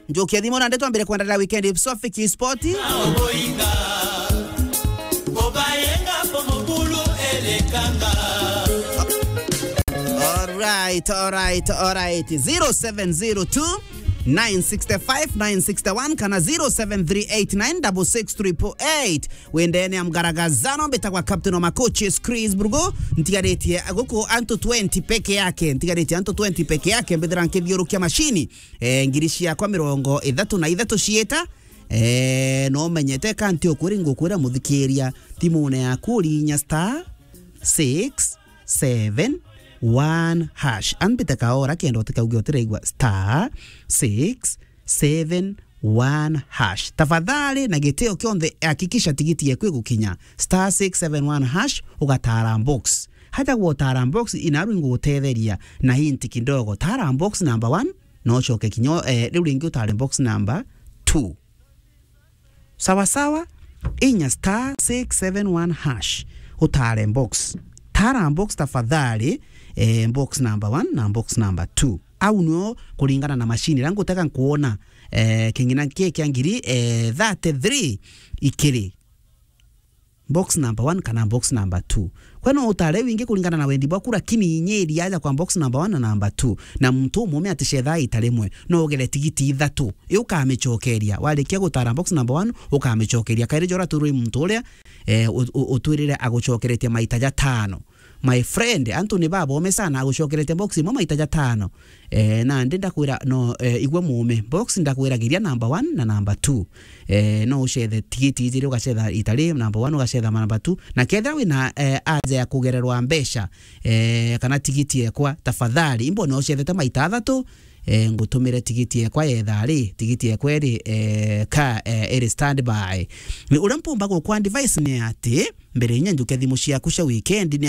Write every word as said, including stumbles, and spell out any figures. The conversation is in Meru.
Njukia thimu nandi twambire kwendelea weekend swafi ki sport. Alright, alright, alright. Zero seven zero two, nine six five, nine six one kana zero seven three eight nine six six triple eight. Wendene ya mgaragazano, mbitagwa captain wa macoaches Chris Brugo. Ntigaritie guku antu twenty peke yake, ntigaritie antu twenty peke yake, mbithira nkithiurukia mashini. Eh, ngiri ciakwa mirongo ithatu na ithatu ciita. Eh, no menyete kanti ukwiri ngukwira muthikiria, thimune yaku urinya star six seven one hash. Ambite kaora kenda utikauge utiraigua star six seven one hash. Tafadhali, na gitio kionthe, hakikisha tigiti yeku igukinya star six seven one hash, ugatara box. Haja gwotara box, inaru ingugutetheria na hint kidogo. Tara box number one, no ucoke kinya, eh, riu ringi utare box number two. Sawa sawa, inya star six seven one hash, utare box. Tara box tafadhali, eh, box number one na box number two. Au nio kuringana na mashini iria ngutega nkuona, eh, king'ina kii kia ngiri, eh, thirty-three ikiri box number one kana box number two. Kwe no utare wingi kuringana na wendi bwaku, lakini inyiria aja kwa box number one na number two. Na muntu umume aticetha ita rimwe, no ugere tigiti ithatu. Iu ukamicokeria. Warikia gutara box number one, ukamicokeria. Kairi jora turwi muntu uria, eh, u-, u-, utwirire agucokeretie maita jatano. My friend, antu ni babome sana, agucokeretie box imwe maita jatano. Eh, nandi ndakwira, no, eh, igwe muume. Box ndakwiragiria number one na number two. Eh, no ucethe tigiti ijiri, ugacetha itari number one, ugacetha number two. Na kethira wina, eh, aja ya kugererwa mbeca, eh, kana tigiti ekwa, tafadhali, imbone ucethete maita athatu, eh, ngutumire tigiti ekwa yetha ri, tigiti ekwa iri, eh, ka, eh, iri standby. Ni uria mpumba gukwa advice ni ati, mbere inya njuke thimu ciaku cia weekend, ni